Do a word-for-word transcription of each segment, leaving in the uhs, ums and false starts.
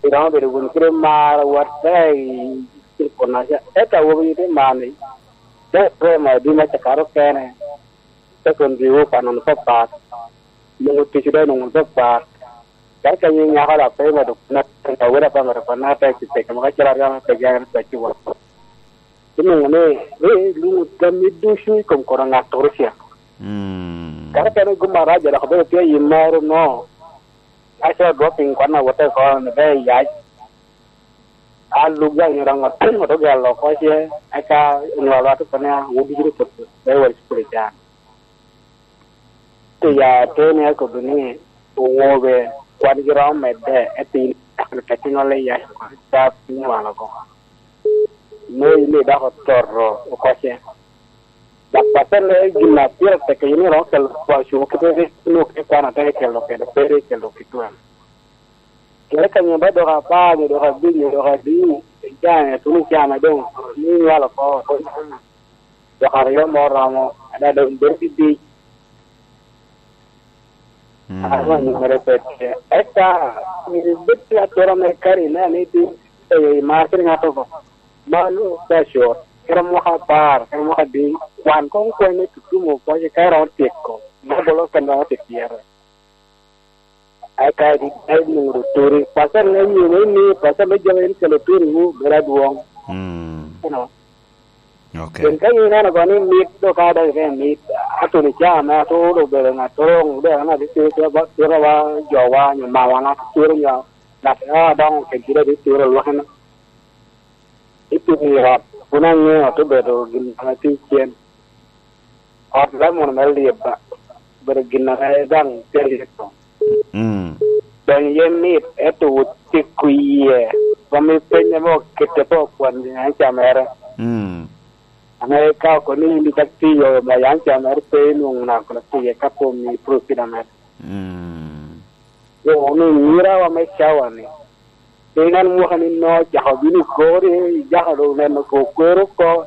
Iromo bedo wunu kede mar, watte i kin pwonnaca. Ento awobi tye mar ni, te prema i bim acakare okene, te kun biwu pa nono papat, nwoŋo tic dok nwoŋo papat. Ka ka nyin nyako da pe medo na, ka wele pa medo kwana te ci peke mo ka ciro aryo me peke en pe ci wot. Inwoŋo ni, ni, nwoŋo tammi ducu i kom kono ŋattoro cen. Mm. Kara kene gum arac dok obedo tye i moro no. Ka ciro dropping kwan a wote oko ni be yac. A lub ya nyo dong oto gelo oko ce, eka onyo alwat oko ni, "Ah, wun ducu ni pwod pe wot i cukul i can." Pi ya ateni akobo ni, owobe kwan gi romo medde, epiny, tekinola i yac oko, ca piny walo oko. Mo imi dok ototo oko ce. Dok pacen ne gin a pire tek in iromo kelo kwaco kite ni inwoŋo kit kwan a tek ikelo kede, pe rik ikelo kit wene. Kede ka nyo ba dok apar, nyo dok abic, nyo dok adi, icano, ituno icano doŋ, ni nywalo oko, dok aryo mo romo, ada doŋ bedo kidic. Mm. Aka nyomere pe tye. Eka, myero ibed ki atura me kari inen ni ti, eyo imar kede ŋat oko. Mano, pe acut. Kede mwaka apar, kede mwaka adi, wan koŋ kwene tutumo oko, ka iromo tyeko, me bolo kene romo tye pyere. Eka di, eka di nwoŋo oturi. Pacen ne nyo ni, ni, pacen me jami en kelo turiwu, bedo adwoŋ. Mm. You know? Ok. Pien ka in ineno kono ni mit, dok ka dok ite mit, atuni ca ame atur obedo ŋat toroŋ, dok an abitiro kede ba, kede ba jowa, nyo mawa, ŋat turo nyo, ŋat a doŋo kede gire abitiro lwakene. Itimo i ot, kun aŋeo te bedo gin ame tye cen. Ot Lemon me Lieba, obedo gin ame daŋ tye lyeto. Mm. Donyo iye mit, ento wot tiko iye. Rom i peny ame okette pe okwan i anca mere. Mm. Ame ka oko ni in icak tiyo, ma anca mere pe inwoŋo naka kono tiye ka pe omi profit mere. Mm. Yo, ni nyirawa me cawa ni, pe inen mwaka ni no, cako bino i kori, ijako doŋ neno ko kwero oko,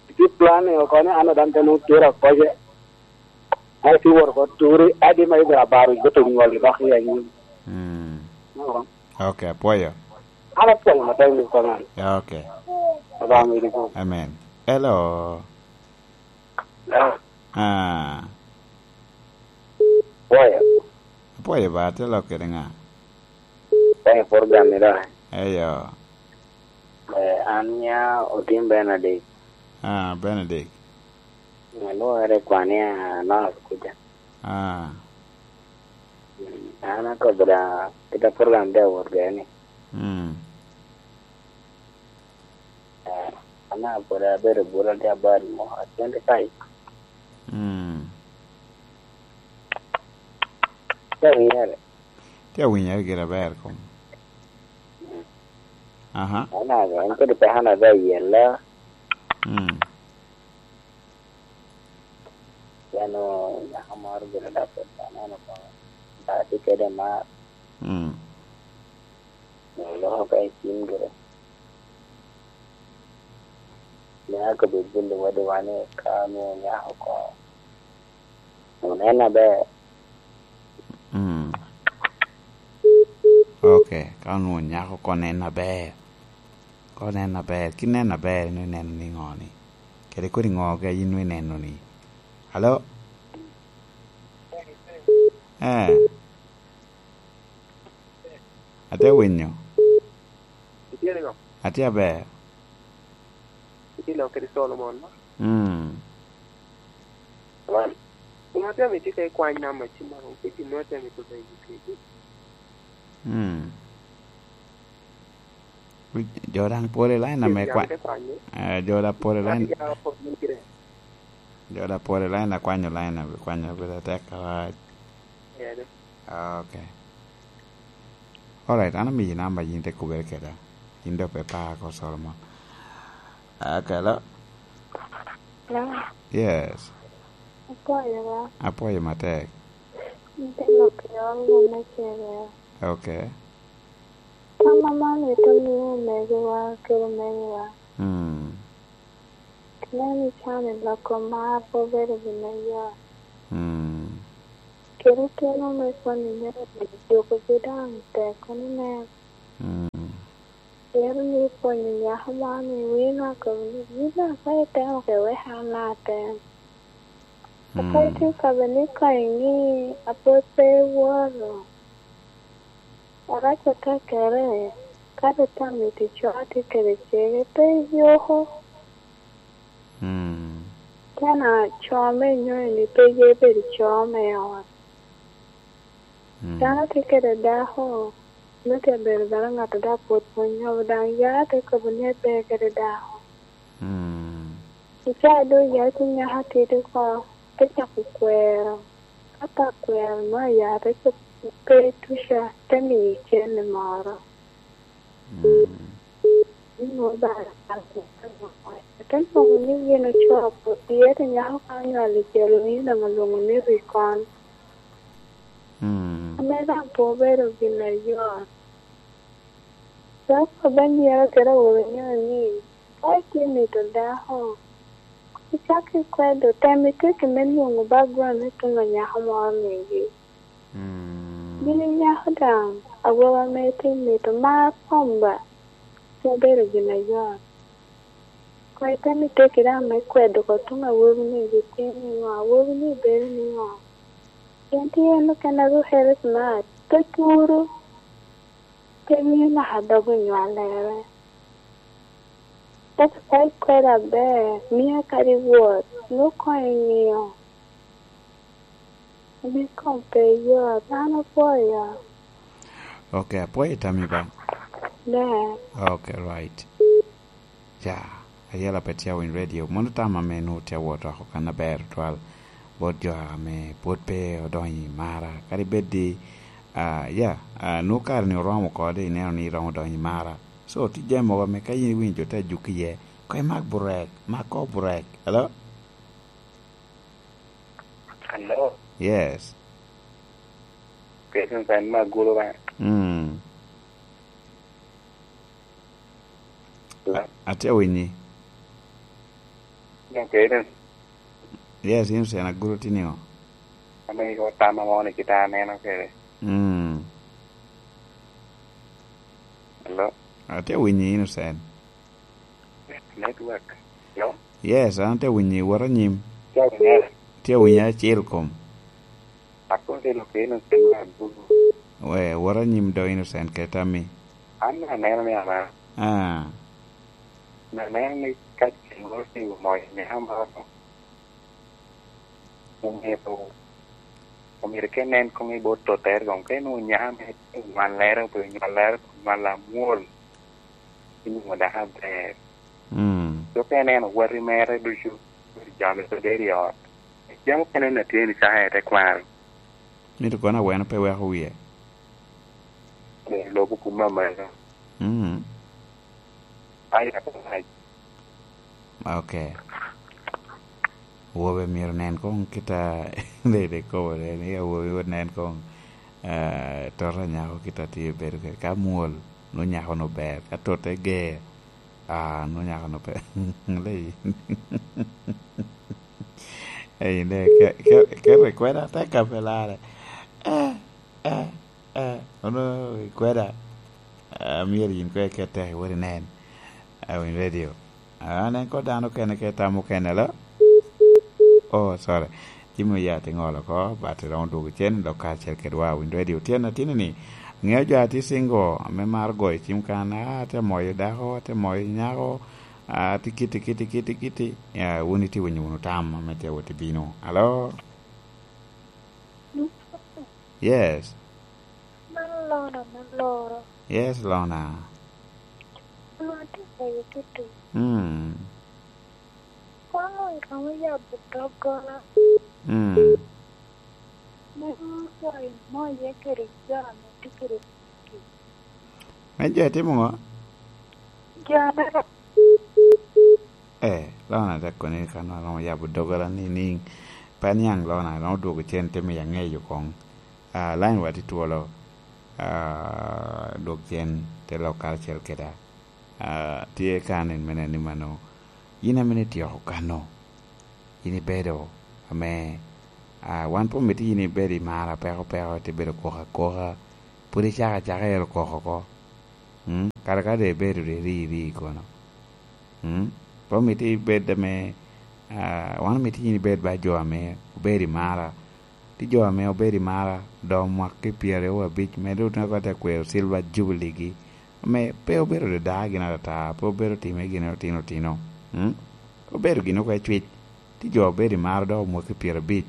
itye plan ni oko ni an daŋ te nwoŋo tera koce. Ai, ti wot oko turi, adi ma ibira baro i goto nywal i dok i anyim. Mm. Oko. Ok, apwoyo. An apwoyo matek ni konan. Ya, ok. Obama idi ko. Amen. Hello. Ah. Ah. Apwoyo. Apwoyo ba, te lok kede ŋa? Apwoyo program ni da. Eyo. Eh, an nya Otim Benedict. Ah, Benedict. Alwore kwan i North kuca. Ah. Mm, an akobo da, kit a program de awot gire ni. Mm. Eh, an a pwod abedo bwolo tye about mo, twenty-five. Mm. Tye awinyere. Tye awinyere gire aber kom. Mm. Aha. An a, an kodi pe an abe ayella. Mm. Pien nyako moro gire dok pwod aneno kono. Dok atye kede mar. Mm. Nyo loko ka i cim gire. Mea kobed bino wadiwa ni ka onwoŋo nyako oko, onen aber. Mm. Ok, ka onwoŋo nyako oko nen aber. Ka onen aber, kit nen aber, in ineno niŋo ni? Kede kodi ŋo ka in ineno ni? Alo? Eh. Atye winyo. Itye niŋo? Atye aber. Itye lok kede Solomon, no? Mm. Wan, wan atye ame tye ka ikwany namba ci maro, pe gin mo atye ame kobba i kedi. Mm. Jo daŋ pol i line ame kwa-, eh, jo daŋ pol i line. Jo daŋ pol i line, akwanyo line, akwanyo pire tek arac. Ah, ok. Alright, an amiyi namba, yin te kubere keda. Yin doŋ pe par ko Solomon. Ah, hello? Hello? Yes. Apwoyo ba. Apwoyo matek. An te lok i ot me cere. Ok. Tam aman mito miyo omegowa kede omegowa. Mm. Nen i can i loko mar pe obedo gin me yot. Mm. Kede keno me kwanyo myero obedo jukogi daŋ tek kono nen. Mm. Pien ni pwonyo nyako moro ni wino akobo ni, "Wino, ka itemo ke wek an atem." Apwony tye ka bed ni konyo ni apwod pe iwoto. Arac atekere, ka ritamo i ticwa tye kede cege, pe iyuko. Mm. Tena co me inyonyo ni pe ye bedo co me ot. Mm. Dano tye kede dako, me tye bedo bene ŋat a dok pwod pwonyo, daŋ ya te kobo ni pe kede dako. Mm. I caa doŋ ya te nyako atidi oko, te cako kwero. Ka pe akwero, nwoŋo aya te cop pe tuca, te miyo cene moro. Mm. Ni nwoŋo bara, ate nwoŋo ni gin ocoo pwod, pien te nyako ka onywalo i celo, ni daŋ olwoŋo ni rikon. Mm. Ame daŋ pe obedo gin ayot. Dok obe myero kede awobi nyo ni, ka itye mito dako, icak ikwedo, tem iteki me nwoŋo background me tuŋ a nyako moro migi. Mm. Gin inyako daŋ, awobi ame itye mito mar kom ba, pe obedo gin ayot. Koŋ item iteki daŋ me kwedo oko tuŋ awobi-ni, gitye niŋo, awobi-ni bedo niŋo. Pien tye en okene a rukere smart, pe puro, pe mio naka dog onywalere. Ento ka ikwedo aber, mio kadi wot, nwoŋo koŋ iŋio. Ame kom pe yot, an apwoyo. Ok, apwoyo tammi ba. Ne. Ok, right. Ca, ayela pe tye awiny radio. Mono tam ame nwoŋo tye awot oko kan aber twal. Bot jo ame pwod pe odonyo i mara. Kadi bed di, ah, ya, ah, nwoŋo kare ni oromo oko di ineno ni iromo donyo i mara. So, tye jami mogo ame ka in iwinyo jo te ajuki iye, koŋ imak burek, mak koŋ burek. Hello? Hello? Yes. Kecen kan me agulu ba. Mm. Hello? Atye awinyi. Dok kecen. Yes, Innocent, agulu tye niŋo? Ame igo tam amo ni kita aneno kede. Mm. Hello? Atye awinyi, Innocent. Network. Hello? Yes, an atye awinyi, wot anyim. Tye awinyo. Tye awinyi acel kom. Akobo ni lok Innocent me agulu. We, wot anyim do Innocent kede tammi. An aneno ni ama. Ah. Aneno ni ka ceng moro otiŋo moc i nino moro, omyero, omyero ka inen koŋ i bot tottere koŋ, ka inwoŋo nyako ame tye i nywallere, obedo nywallere, nywal amwol, inwoŋo dako aber. Mm. Dok ka ineno wati mere ducu, jo ame pe bedo i ot, jami okene na tye ni caka i tekwaro. Mito kono aweno pe weko wie. Lobo kume amalo. Mm. Ai, ai. Ok. Awobe myero nen koŋ kit a, dede kobo de ni awobi onen koŋ, ah, tota nyako kit a tye bedo kede. Ka mwol, nwoŋo nyako-nu ber. Ka totte ger, ah, nwoŋo nyako-nu pe. Leyi. Ei, ne, ke, ke, ke rekwena tek ka pe larre. Eh, eh. Eh, ono ikweda, ah, myero yin koŋ iket tek iwot inen, ah, winy radio. Ah, an en koŋ dano okene ke tam okene, alo? Oh, sorry. Jami oya tye ŋolo oko, but iromo dwogo cen, dok kacel kedwa, winy radio. Tyen atini ni, ŋeo jo a tye single, ame maro goyo cim kan, ah, atye moyo dako, atye moyo nyako, ah, atye kiti, kiti, kiti, kiti. Ya, wun itye winyo wunu tam, ame tye wot i bino. Alo? Yes. Man Lona me Loro. Yes, Lona. Lona tye ka yuto tic. Mm. Kono iromo yabo doggola. Mm. Me nyuto imoye kede jo ame tye kede tic. Me jo itimo ŋo? Jo ame Eh, Lona te koni kan aromo yabo doggola ni niŋ. Pe aniaŋ Lona, romo dwogo cen te miyo aŋeyo koŋ. Ah, line wa tye twolo. Ah, dwog cen te lok karacel keda. Ah, tye ka nen me nen ni mano. Yin ame ni tyeko kano. Yin ibedo ame, ah, wan pe omito yin ibedo i mara peko peko, ite bedo koko akoka. Pwod icako acaka ero koko oko. Mm? Kara ka doŋ ibedo doŋ iri iri kono. Mm? Pe omito ibed ame, ah, wan omito yin ibed ba jo ame obedo i mara. Tye jo ame obedo i mara, dok mwaki pyeraryo abic, me doŋ otye ka kwero silver jubilee gi, ame pe obedo dada gin atata, pe obedo time gin otino otino. Mm? Obedo gin oko ecwic. Tye jo obedo i mara dok omwaki pyerabic,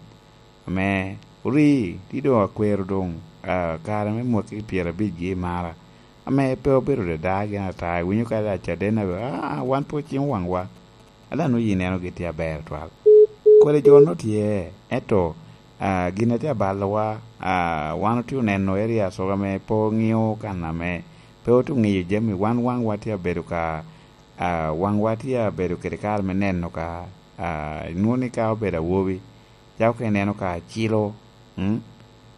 ame ori, tye doŋ akwero doŋ, ah, kare me mwaki pyerabic gi i mara, ame pe obedo dada gin atata. Iwinyo ka Caden abe, "Ah, wan pe ocimo waŋwa." Ada nwoŋo ineno gitye aber twal. Kodi jo no tye, ento, ah, gin a tye abalowa, ah, wan otye oneno area soga ame pe oŋio kan ame pe otye oŋio jami. Wan waŋwa tye abedo ka, ah, waŋwa tye abedo kede kare me neno ka, ah, inwoŋo ni ka obedo awobi, cako ka ineno ka cilo, mm,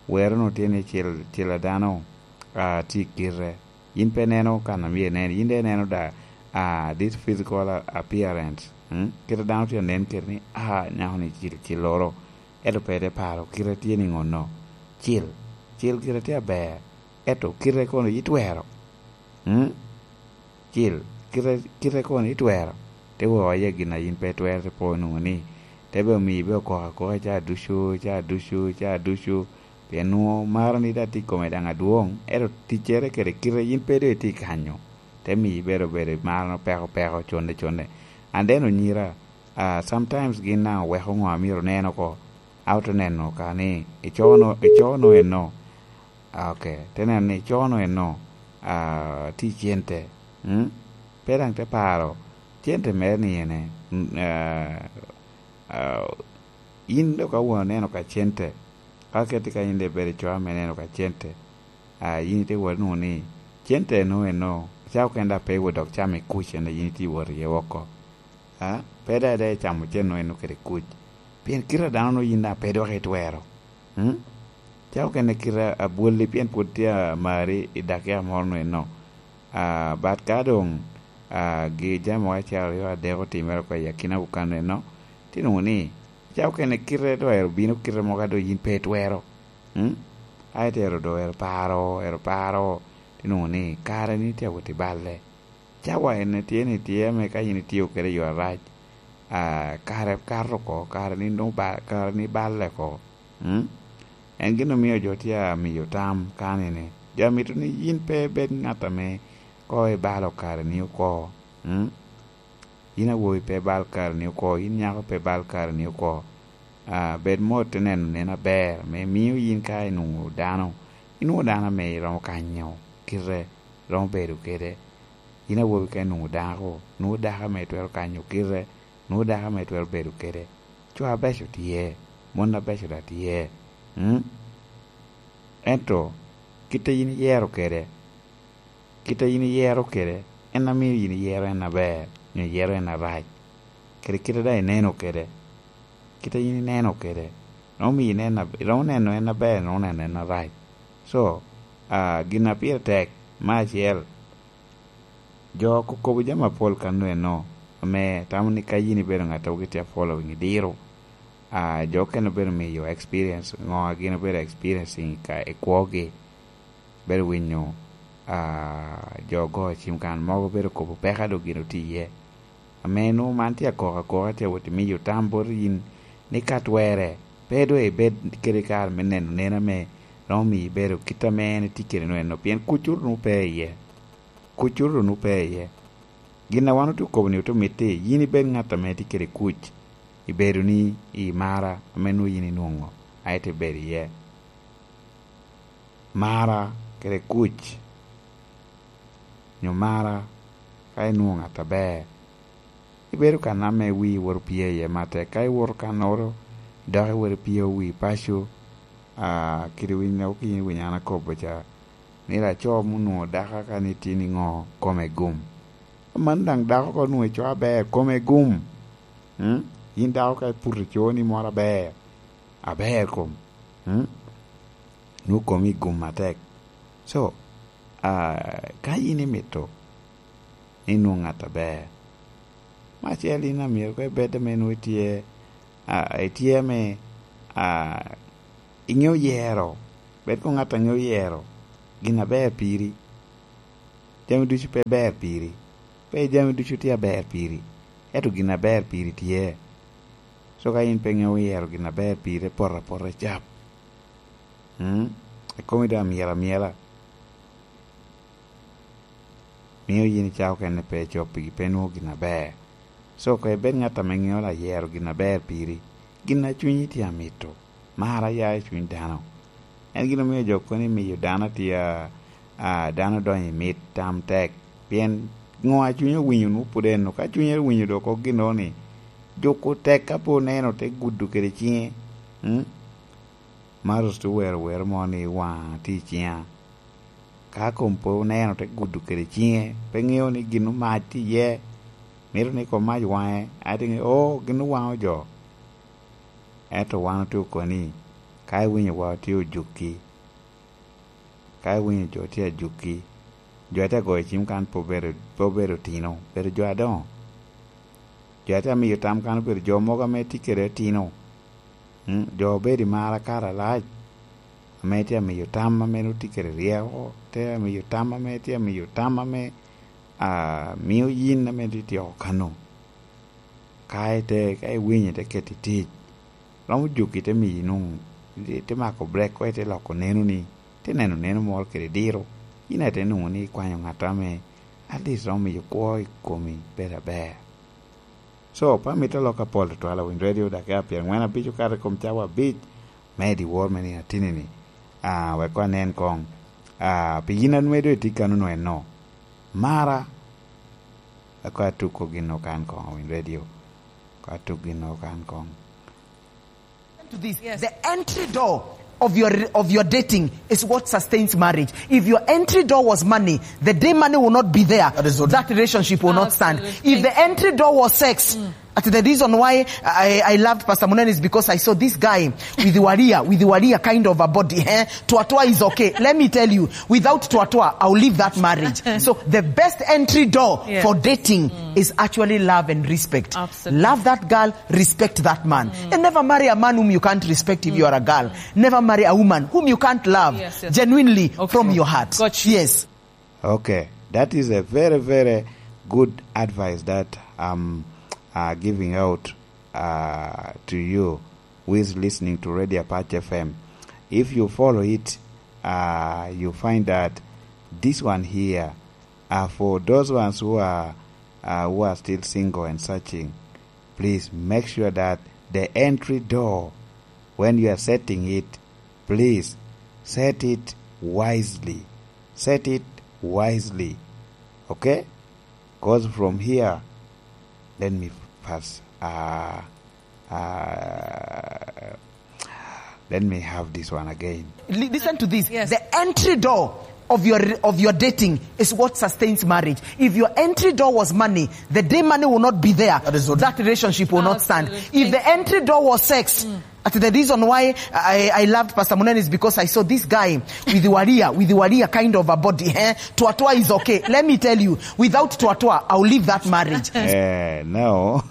wero no tye ni cil, cil a dano, ah, tye i kite. Yin pe ineno kan a myero inen, yin daŋ ineno da, ah, this physical a-, appearance, mm? Kit a dano tye anen kede ni, ah, nyako ni cil, cilloro. Ento pe ite paro, kite tye ni ŋo no? Cil, cil kite tye aber. Ento kite kono itwero? Mm? Cil, kite, kite kono itwero? Te woo iye gin a yin pe itwero, te po nwoŋo ni, te be omiyo ibe okoko akoka ca ducu, ca ducu, ca ducu. Pien nwoŋo marani daŋ tye i kome daŋ adwoŋ, ento ticcere kede kite yin pe doŋ itye kanyo, te miyo ibedo bedo i marano peko peko, conne conne. And then onyira, ah, sometimes gin daŋ oweko ŋo a myero onen oko, a ote neno ka ni icoo no, icoo no eno. Ah, ok, te neno ni icoo no eno, ah, tye i cente. Mm? Pe daŋ te paro, cente mere ni ene, mm, ah, ah, yin dok ka wun oneno ka cente, ka keti ka yin daŋ ibedo i coo ame ineno ka cente, ah, yin ite wot nwoŋo ni cente eno, eno, ca okene daŋ pe iwot dok cam i kuc, en daŋ yin itye iwot iye woko. Ah, pe daŋ, daŋ icamo cente eno kede kuc. Pien kite a dano no yin daŋ pe dok itwero. Mm? Ca okene kite a bwolli pien pwod tye amari i dakika moro no eno. Ah, but ka doŋ, ah, gi jami mogo acel aryo adek otimere oko i akinawu kan eno, tye nwoŋo ni, ca okene kite doŋ ero bino kite mogo a doŋ yin pe itwero. Mm? A itero doŋ ero paro, ero paro, tye nwoŋo ni kare ni tye awot i balle. Cawa en tye ni tye ame ka yin itio kede i yo arac, ah, kare kato oko, kare ni nwoŋo ba-, kare ni balle oko. Mm? En gin omio jo tye amiyo tam kani ni, jo amito ni yin pe ibed ŋat ame ko ibalo kare ni oko. Mm? Yin awobi pe ibal kare ni oko, yin nyako pe ibal kare ni oko. Ah, bed mot te neno nen aber, me mio yin ka inwoŋo dano, inwoŋo dano ame iromo kanyo kite, iromo bedo kede. Yin awobi ka inwoŋo dako, nwoŋo dako ame itwero kanyo kite, nwoŋo dako ame itwero bedo kede. Co abeco tye, mon abeco daŋ tye. Mm? Ento, kit a yin iyero kede, kit a yin iyero kede, en a mio yin iyero en aber, nyo iyero en arac. Kede kit a daŋ ineno kede, kit a yin ineno kede, romo mio inen ab-, romo neno en aber, romo neno en arac. So, ah, gin a pire tek, me acel, jo kokobo jami apol kano eno, ame tamo ni ka yin ibedo ŋat a gitye a following idiro, ah, jo okene obedo miyo experience, ŋo a gin obedo experiencing ka i kwogi. Bedo winyo, ah, jo ogo cim kan mogo bedo kobo peko a doŋ gin otye iye. Ame nwoŋo man tye akoko akoka, tye awot i miyo tam bot yin ni ka twerre, pe doŋ ibed kede kare me neno nen ame romo miyo ibedo kit ame en etye kede nwoŋo eno, pien kucoro nwoŋo pe iye. Kucoro nwoŋo pe iye. Gin a wan otye okobo ni otye omitte, yin ibed ŋat ame tye kede kuc, ibedo ni i mara ame nwoŋo yin inwoŋo, a ite bedo iye. Mara kede kuc, nyo mara ka inwoŋo ŋat aber, ibedo kan ame wii wot opye iye matek. Ka iwoto kannoro, dok iwot ipyeo wii paco, ah, kede winyo, ok yin iwinyo an akobo ca, ni laco ma onwoŋo dako ka ni tye niŋo, kome gum. Aman daŋ dako ka onwoŋo ico aber, kome gum. Mm? Yin dako ka iputo ico ni moro aber, aber kom. Mm? Nwoŋo komi gum atek. So, ah, ka yin imito ni inwoŋ ŋat aber, me acel yin amyero koŋ ibed ame nwoŋo itye, ah, itye ame, ah, iŋeo yero. Bed koŋ ŋat a ŋeo yero gin aber piri. Jami ducu pe ber piri. Pe jami ducu tye aber piri. Ento gin aber piri tye. So ka in pe ŋeo yero gin aber piri, poto apota cap. Mm? Ikomi doŋ amyel amyela. Mio yin icako kene pe coppigi, pe nwoŋo gin aber. So, koŋ ibed ŋat ame ŋeo la yero gin aber piri. Gin a cunyi tye amito. Mar aya i cuny dano. En gin omio jo kono imiyo dano tye a, a, dano donyo i mit tam tek. Pien ŋo a cunye owinyo nwoŋo pwod en, ka cunye owinyo dok kok gin ni, juko tek ka pe oneno te gudo kede ciŋe. Mm? Marus te wero wer mo ni, "Waŋa tye i ciŋa." Ka kom pe oneno, te gudo kede ciŋe, pe ŋeo ni gin mac tye iye. Mito ni kom mac waŋe, a tye ŋeo, "Oh, gin owaŋo jo." Ento wan otye okoni, ka iwinyo wa otye ojukki, ka iwinyo jo tye ajukki, jo atye agoyo cim kan pe obedo, pe obedo otino, obedo jo adoŋo. Jo atye amiyo tam kan obedo jo mogo ame tye kede otino. Mm, jo obedo i mar akara alac, ame tye amiyo tam ame nwoŋo tye kede ryeko, tye amiyo tam ame, tye amiyo tam ame, ah, mio yin ame tye tyeko kano. Ka ite, ka iwinyo ite keto i tic, romo juki te miyi nwoŋo, ite mako brek ko, ite loko nenoni, ite neno neno moro kede diro, yin aye ite nwoŋo ni ikwanyo ŋat ame at least romo miyo kwo i komi bedo aber. So, pe amito lok apol tutwal, awiny radio dakika pyerangwen abic okato i kom cawa abic me dyewor me nino atini-ni. Ah, wek koŋ anen koŋ. Ah, pi yin a nwoŋo doŋ itye kano nwoŋo eno. Mara, wek koŋ atuko gin okan koŋ, awiny radio. Koŋ atuk gin okan koŋ. To this, yes. The entry door of your, of your dating is what sustains marriage. If your entry door was money, the day money will not be there, that is what, that relationship will not stand. Absolutely. If the entry door was sex, mm, that the reason why I, I loved Pastor Munene is because I saw this guy with the Walia, with the Walia kind of a body. Eh? Twatwa is okay. Let me tell you, without Twatwa, I'll leave that marriage. So the best entry door, yes, for dating, mm, is actually love and respect. Absolutely. Love that girl, respect that man. Mm. And never marry a man whom you can't respect if you are a girl. Mm. Never marry a woman whom you can't love, yes, yes, genuinely, okay, from your heart. Got you. Yes. Okay, that is a very, very good advice that I'm, uh, giving out, uh, to you who is listening to Radio Apache F M. If you follow it, uh, you find that this one here, uh, for those ones who are, uh, who are still single and searching, please make sure that the entry door, when you are setting it, please set it wisely. Set it wisely. Okay? 'Cause from here, let me pass. Uh, uh, let me have this one again. Li-, listen to this. Yes. The entry door of your, of your dating is what sustains marriage. If your entry door was money, the day money will not be there, that is what, that relationship will not stand. Absolutely. If the entry door was sex, mm, that the reason why I, I loved Pastor Munene is because I saw this guy with the Walia, with the Walia kind of a body. Eh? Twatwa is okay. Let me tell you, without Twatwa, I'll leave that marriage. Eh, no.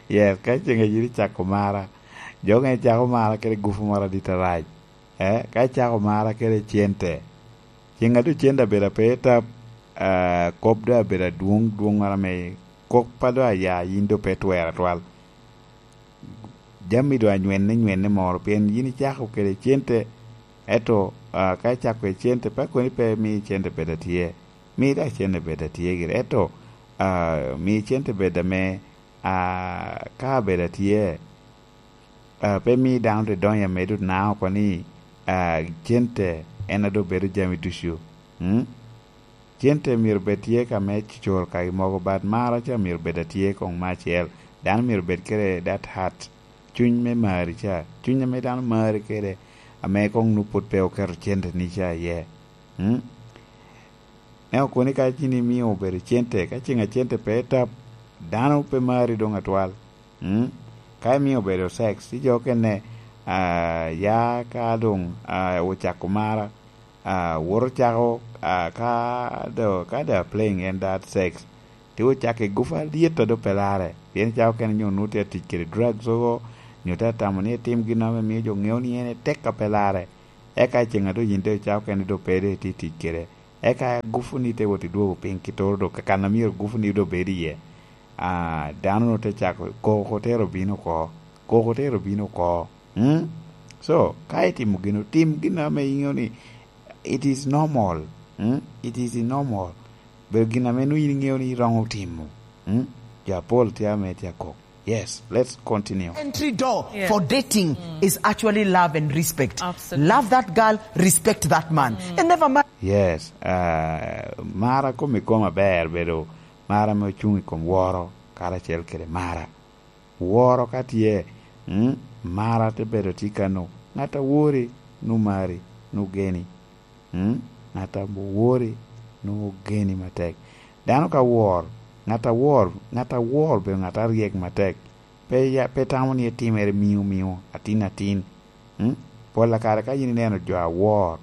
Yes, ka ceng a yiri cako mara. Jo nge cako mara kede gufu moro adit arac. Eh, ka icako mara kede cente, ceng a doŋ cente abedo ape i tap, ah, kop doŋ abedo adwoŋ, dwoŋ mara me kop a doŋ aya, yin doŋ pe twero atwal. Jami doŋ anywenne nywenne moro, pien yin icako kede cente, ento, ah, ka icako kede cente, pe koni pe mi cente bed atye, mi dok cente bed atye gire, ento, ah, mi cente bed ame, ah, ka bed atye, ah, pe mi dano te donyo amedo nao oko ni, ah, cente en a doŋ bedo jami ducu. Mm? Cente myero bed tye ka me coro kagi mogo, but mara ca myero bed atye koŋ me acel. Dano myero bed kede that heart, cuny me mari ca, cuny ame dano mari kede, ame koŋ nu pwod pe oketo cente ni ca iye. Mm? Me okoni ka cini imio obedo cente, ka ceng a cente pe tap, dano pe mari doŋ atwal. Mm? Ka imio obedo sex, ijo kene, ah, ya ka doŋ, ah, ocako mara, ah, woto cako, ah, ka do, ka do playing en that sex, ti ocako i gufa alyet a do pe lare. Pien cako kene nyo nu tye atic kede drugs ogo, nyo tye atamo ni etim gin ame mio jo ŋeo ni en etek a pe lare. Eka i ceŋ a doŋ yin te oca okene doŋ pe doŋ itye tic kede, eka gufuni te wot idwogo piny kitoro doŋ kakan a myero gufuni doŋ bed iye. Ah, dano-nu te cako koko te ro bino oko, koko te ro bino oko. Mm? So, ka itimo gino, tim gin ame iŋeo ni it is normal. Mm? It is normal. Bedo gin ame nwoŋo in iŋeo ni iromo timo. Mm? Jo apol tye ame tye akok. Yes, let's continue. Entry door, yeah, for dating, mm, is actually love and respect. Absolutely. Love that girl, respect that man. Mm. And never mind. Yes, uh, mara kom i kom aber bedo mara ame ocuŋ i kom woro karacel kede mara. Woro ka tye, mm, mara te bedo tye kano. Ŋat a wori, nu mari, nu geni. Mm? Ŋat a wori, nu geni matek. Dano ka wor, ŋat a wor, ŋat a wor bedo ŋat a ryek matek. Pe ya, pe tamo ni etimere miu miu, atin atin. Mm? Pol a kare ka yin ineno jo a wor,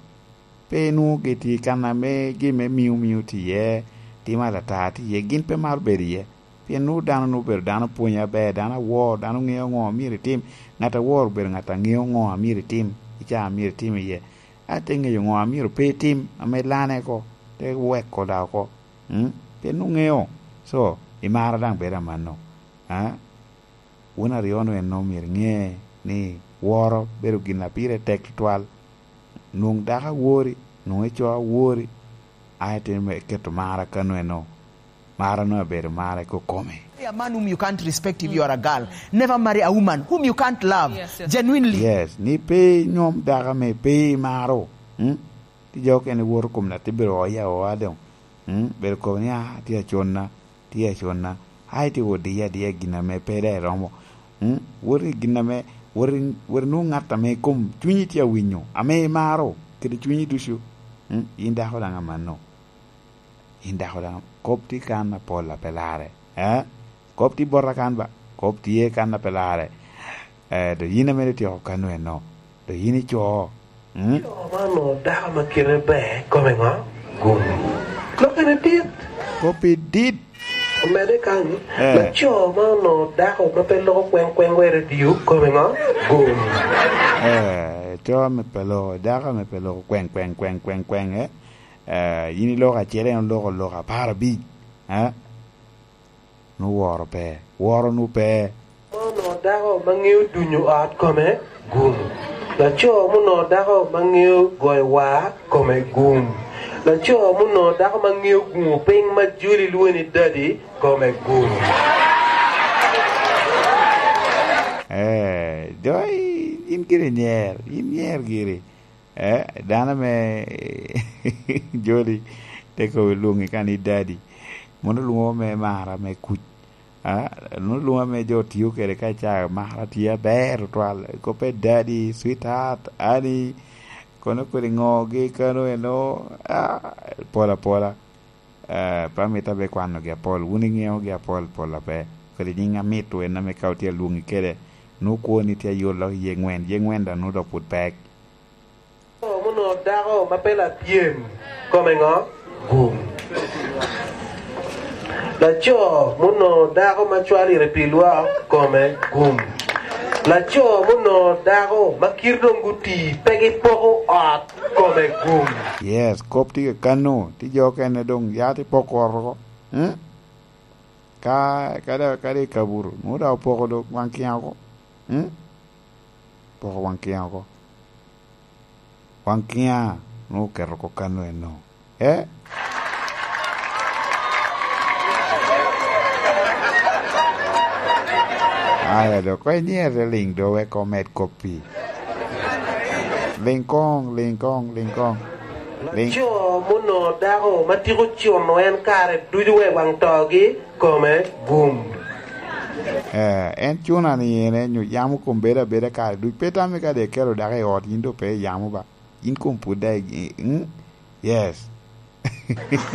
pe nwoŋo gitye i kan ame gin me miu miu tye iye, tim alata tye iye, gin pe maro bedo iye. Pien nwoŋo dano nwoŋo obedo dano pwonyo aber, dano awor, dano ŋeo ŋo a myero itim. Ŋat awor obedo ŋat a ŋeo ŋo a myero itim, i caa a myero itim iye. A te ŋeyo ŋo a myero pe itim, ame lane oko, te weko da oko. Mm? Pien nwoŋo ŋeo. So, i mara daŋ bedo amanno. Ah? Wun aryo-nu en nwoŋo myero iŋe ni woro bedo gin a pire tek tutwal. Nwoŋo dako awori, nwoŋo ico awori, a itimo me keto mara kano eno. Mara nwoŋo abedo mara i kokome. Marry a man whom you can't respect if you are a girl. Never marry a woman whom you can't love, yes, yes, genuinely. Yes, ni pe inyom dako ame pe imaro. Mm? Ti jo okene woto kom na te bedo oya oa doŋ. Mm? Bedo kobo ni, ah, tye aconna. Tye aconna. Ai, tye odiya adiya i gin ame pe daŋ iromo. Mm? Wot i gin ame, wot i, wot inwoŋ ŋat ame kom cunyi tye awinyo, ame imaro kede cunyi ducu. Mm? Yin dako daŋ amanno. Yin dako daŋ, kop tye kan apol a pe larre. Eh? Kop tye bota kan ba, kop tye kan a pe larre. Eh, do yin ame ityeko kano eno. Do yin ico. Mm? Co ma onwoŋo dako ma kite ber, kome ŋo? Gum. Lokkene dit. Koppi dit. Omedde kany, eh, laco ma onwoŋo dako ma pe loko kweŋ kweŋ wa i redio, kome ŋo? Gum. Eh, co ame pe loko, dako ame pe loko kweŋ, kweŋ, kweŋ, kweŋ, kweŋ, eh? Eh, yin iloko acel, en oloko, oloko apar abic, eh? Nu woro pe, woro nu pe. Muno dako ma ŋeo dunyo ot kome, gum. Laco muno dako ma ŋeo goyo war kome, gum. Laco muno dako ma ŋeo guŋo piny ma joli lwongo ni dadi kome, gum. Eh, jo, yin giri nyer, yin nyer giri. Eh, dano me joli te kobo lwoŋi ka ni dadi. Mono lwoŋo me mara me kuc. Ah, nwoŋo lwoŋo ame jo tio kede ka ca mara tye aber tutwal. Koppe dadi, sweetheart, honey, kono kodi ŋo gi kano eno, ah, pol apola. Eh, pe amito abe kwanogi apol, wun iŋeogi apol pol ape. Kodi nyiŋ amit en ame ka otye alwoŋi kede, nwoŋo kwoni tye ayolo iye ŋwen, iye ŋwen daŋ nwoŋo dok pwod pek. Laco muno dako ma pe lapyem, kome ŋo? Gum. Laco muno dako ma cwalire pi lwak, kome gum. Laco muno dako ma kite doŋ guti, pe gipoko ot, kome gum. Yes, kop tye kano, ti jo okene doŋ ya ti poko ot oko. Mm? Ka, ka da, ka da i kabuto, nwoŋo da opoko do waŋ kiŋ oko. Mm? Poko waŋ kiŋ oko. Waŋ kiŋa nwoŋo oketo oko kano eno. Eh? Aya do, ko inyere liŋ do wek omed koppi. Liŋ koŋ, liŋ koŋ, liŋ koŋ. Liŋ. Laco muno dako ma tiko cuno en kare ducu wek waŋ togi, kome gum. Eh, en cuna ni en, en nyo yamo kom bedo abeda kare ducu. Pe tamme ka de kelo dako i ot, yin do pe iyamo ba. Yin kom pwod daŋ i-, i-, mm? Yes.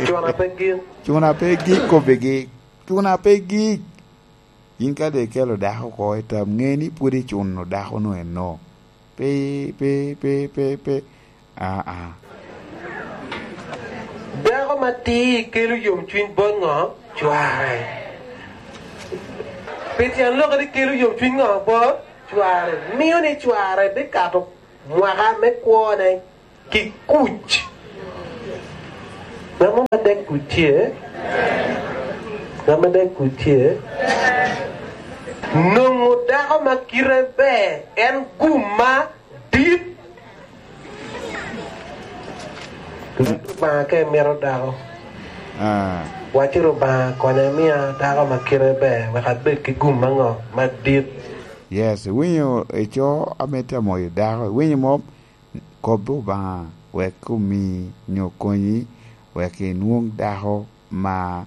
Cuna pe gik. Cuna pe gik, kobbe gik. Cuna pe gik. Yin ka de ikelo dako oko i tam, ŋe ni pwod icuno dako-nu eno. Pe, pe, pe, pe, pe. Aa. Dako ma tir kelo yomcwiny bot ŋo? Cware. Pi tyen lokke ni kelo yomcwiny ŋo? Bot cware. Mio ni cware bikato mwaka me kwone. Ki kuc. Ŋat mo ma dek kuc tye? Ŋat ma dek kuc tye? Nwoŋo dako ma kite ber en gum ma dit. Obaŋa ka imito dako, ah, wacci, "Obaŋa, konya imia dako ma kite ber, wek abed ki gum aŋo madit." Yes, iwinyo, ico ame tye amoyo dako, iwinyo mom? Kob Obaŋa wek omi nyo konyi, wek inwoŋ dako ma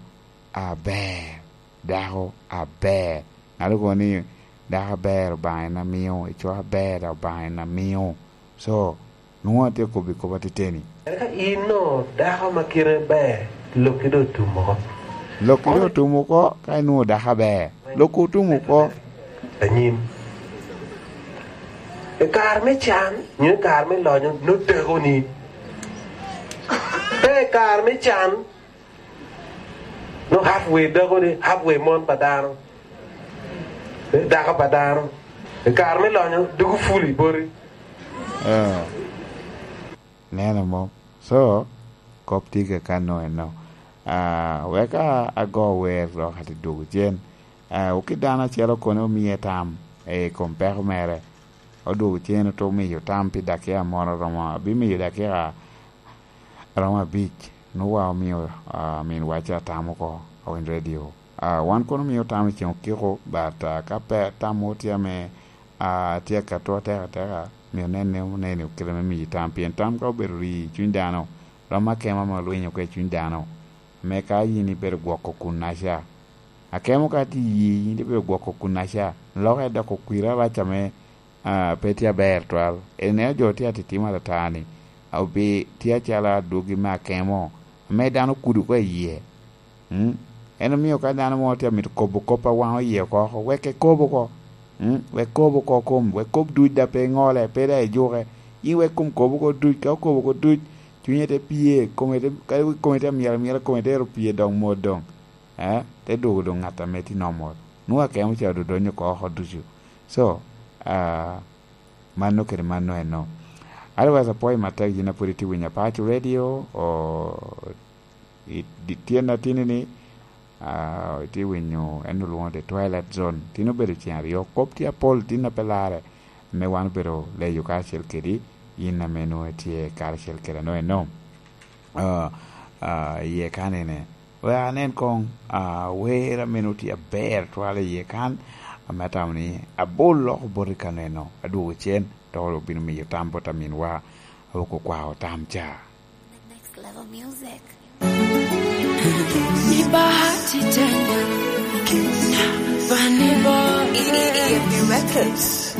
aber, dako aber. Ŋat okobo ni, "Dako aber Obaŋa en amio, ico aber Obaŋa en amio." So, nwoŋo atye kobbi kop ateteni. Eka in no, dako ma kite ber, lokki doŋ otum oko. Lokki doŋ otum oko, ka inwoŋo dako aber, lokki otum oko. Anyim. I kare me can, nyo i kare me lonyo, nwoŋo dakoni. Pe i kare me can, nwoŋo halfway dakoni, halfway mon pa dano. Dako pa dano. I kare me lonyo, doko ful i boti. Ah. Neno mo. So, kop tye kaka no eno. Ah, wek a-, ago wer dok ati dwogo cen. Ah, oki dano acel okone omie tam i kom peko mere. Odwogo cen oto miyo tam pi dakia moro romo, abimiyo dakia romo abic. Nwoŋo wa omio, ah, minwa ca tam oko, owiny radio. Ah, wan kono omio tam i ceŋ okiko, but, ah, ka pe tam mo tye ame, ah, tye ka to atek ateka, myero nen ni oneno kite me miyi tam, pien tam ka obedo ri i cuny dano, rom akemo ame olwiny oko i cuny dano, me ka yin ibedo gwoko kunnaca. Akemo ka tye i yi, yin ibedo gwoko kunnaca, lokke dok okwiri arac ame, ah, pe tye aber twal. Ineno jo tye atitimo atata-ni, obi tye acalo adwogi me akemo, ame dano okudo oko i yie. Mm? En omio ka dano mo tye amito kobo kop a waŋo yie oko, oko, wek ekob oko. Mm? Wek kob oko kom, wek kob duc da pe iŋole, pe da ijuke. Yin wek kom kob oko duc, ka okobo oko duc, cunye te pye, kome te, ka kome te amyel amyela, kome te ero pye dok mot doŋ. Eh? Te dwogo doŋ ŋat ame tye normal. Nwoŋo akemo ca odonyo oko, oko ducu. So, ah, mano kede mano eno. Otherwise, apwoyo matek yin a pwod itye winyo Apaco Radio, o, i, di, tyen atini ni, ah, itye winyo en olwoŋo The Twilight Zone. Tin obedo ceng aryo, kop tye apol, tin a pe larre, ame wan obedo leyo karacel kedi, yin ame nwoŋo itye karacel kede ano eno. Ah, ah, iye kanene. Wek anen koŋ, ah, wer ame nwoŋo tye aber twal iye kan, ame atamo ni abol loko boti kaneno, adwogo cen, dok obino miyo tam bot aminwa, awok okwao tam ca. The next level music. Ni bahati tena, Kenya, Vanilla Boy. E A F B Records.